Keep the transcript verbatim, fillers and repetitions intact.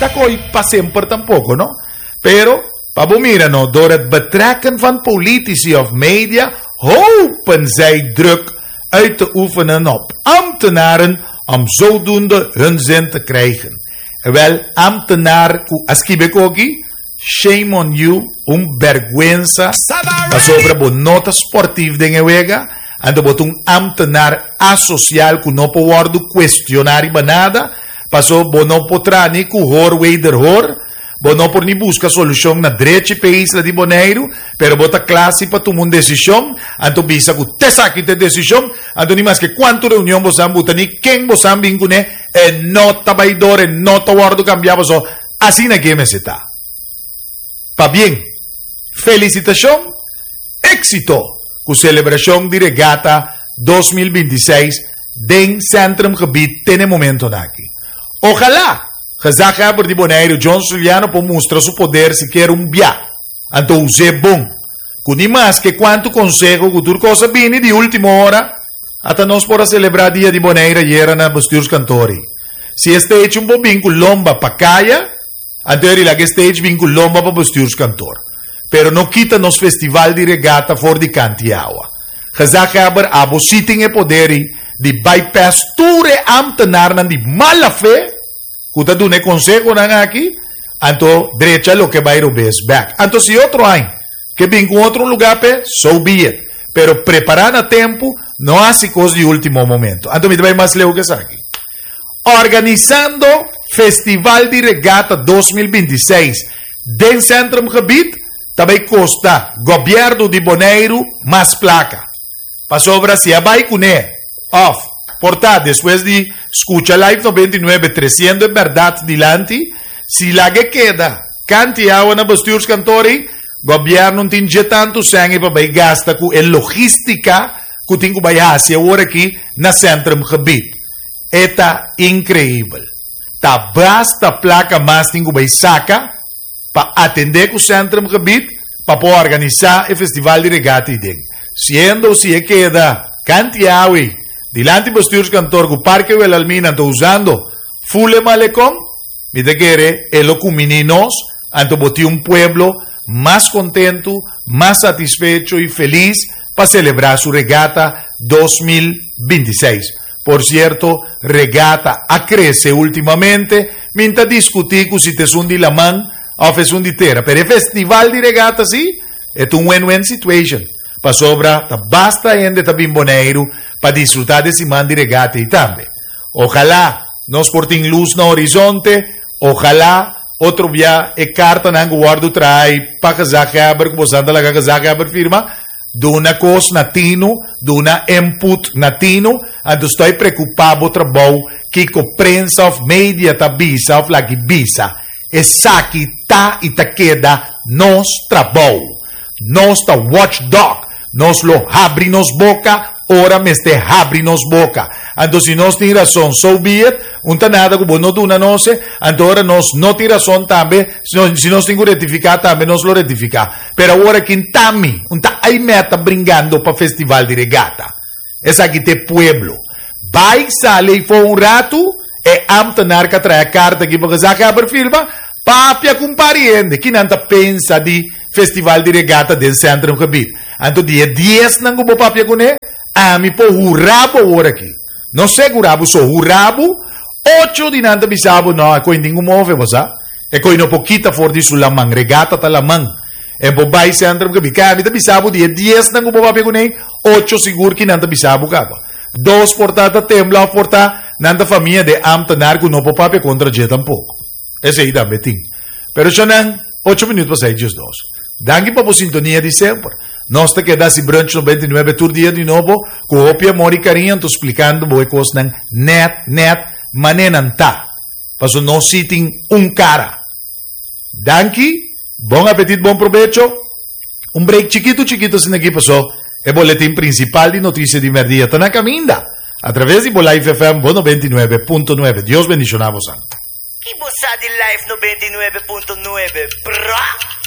Ta koi pa semper tampoko, no? Pero, pa bo mira, no, door het betrekken van politici of media hopen zij druk uit te oefenen op ambtenaren om zodoende hun zin te krijgen. Wel, ambtenaar ku a skibi e kos aki, shame on you, un bèrgwensa, pasobra bo no ta sportief den e wega, anto bo ta un ambtenaar asosial ku no por wòrdu kuestioná riba nada, paso bo no por traha ni ku hoor wederhoor, bo no por ni buska solushon na drechi p'e isla di Boneiru, pero bo ta kla si pa tuma un desishon, anto bisa ku t'esaki ta e desishon, anto ni maske kuantu reunion bo san buta ni ken bo san bin kuné, e no ta bai dor, e no ta wòrdu kambiá, paso asina ke mester ta. Pabien, felisitashon, éksito ku selebrashon di Regata dos mil binti i seis den Centrumgebied te na e momentonan aki. Ojalá gezaghebber di Boneiru John Juliano por mustra su poder sikiera un bia, anto us'é bon. Ku ni maske kuantu konseho ku tur kos a bini di último ora, ata nos por a selebrá Dia di Bonaire ayera na Bestuurskantoor. Si e stage un por bin ku lomba pa kaya, anto e laga e stage bin ku lomba pa Bestuurskantoor. Pero no kita nos festival di regata for di kant'i awa. Gezaghebber, abo sí tin e poder di bypass tur e ambtenaarnan di mala fe ku ta duna e konsehonan aki, anto drecha loke bai robes bèk. Anto si otro aña ke bin ku otro lugá p'e, so be it. Pero prepará na tempu, no hasi kos di último momento. Anto mi ta bai mas leu ku esaki. Organisando Festival di Regata dos mil binti i seis den Centrumgebied ta bai kosta gobièrnu di Boneiru mas plaka. Pasobra si a bai kuné òf por ta despues di skucha Live noventa i nuebe tresiendo e bèrdat dilanti, si laga e keda kant'i awa na bestuurskantoor ei, gobièrnu no tin dje tantu sèn ei pa bai gasta ku e logístika ku tin ku bai hasi awor aki na Centrumgebied. E ta inkreibel. Ta basta plaka mas tin ku bai saka pa atendé ku Centrumgebied pa por organisá e festival di regata ei den. Siendo si e keda kant'i awa ei dilanti bestuurskantoor ku Parke Wilhelmina anto usando full e malekon, mi ta kere e lo kuminí nos, anto bo tin un pueblo mas kontentu, mas satisfecho i felis pa selebrá su regata dos mil binti i seis. Por sierto, regata a krese últimamente, mi ta diskutí ku si ta esun di laman òf esun di tera, pero e festival di regata sí, e ta un win-win situation. Pasobra ta basta hende ta bin Boneiru pa disfrutá di e siman di regata ei tambe. Ojalá nos por tin lus na horizonte, ojalá otro bia e kartanan ku wòrdu traha pa gezaghebber, ku boso ta laga gezaghebber firma, duna kos na tinu, duna input na tinu, anto stoi preokupá bo trabou kiko prensa òf media ta bisa òf laki bisa. Esaki ta i ta keda nos trabou. Nos ta watchdog. Nos lo habri nos boka ora mester habri nos boka. Anto si nos tin rason, so be it. Un ta nada ku bo no duna nos, anto ora nos no tin rason tambe, si nos, si nos tin ku rektifiká tambe, nos lo rektifiká. Pero awor aki ta mi, un ta Aimee ta bringando pa festival di regata. Esaki ta pueblo. Bai sali for un ratu, e ambtenaar ka trae karta aki pa gezaghebber firma, papia ku un pariente, ki nan ta pensa di festival di regata den Centrumgebied. Anto di e dies nan ku bo papia kuné, ami por hura bo awor aki. No segura bo, so hura bo, ocho di nan ta bisa bo, no, e koi ningun move, bo sa. E koi no por kita for di su laman, regata ta laman. E bo bai Centrumgebied. Kaya ami ta bisa bo, di e dies nan ku bo papia kuné, ocho sigur ki nan ta bisa bo kaba. Dos por ta ta tembla of por ta nan ta famia de ambtenaar ku no por papia kontra dje tampoko. Esei tambe tin. Pero shonan, ocho minuut pa seis dies dos. Danki pa bo sintonia di semper. Nos ta keda hasi Brunch noventa i nuebe tur dia di nobo ku hopi amor i kariño anto splikando bo e kosnan nèt nèt manera nan ta. Paso nos si tin un kara. Danki, bon apetit, bon probecho. Un break chikitu chikitu asina aki paso e boletin prinsipal di notisia di mèrdia ta na kaminda a traves di bo Life F M bo noventa i nuebe punto nuebe. Dios bendishoná bosan. Ki bo sa di Life noventa i nuebe punto nuebe, bra?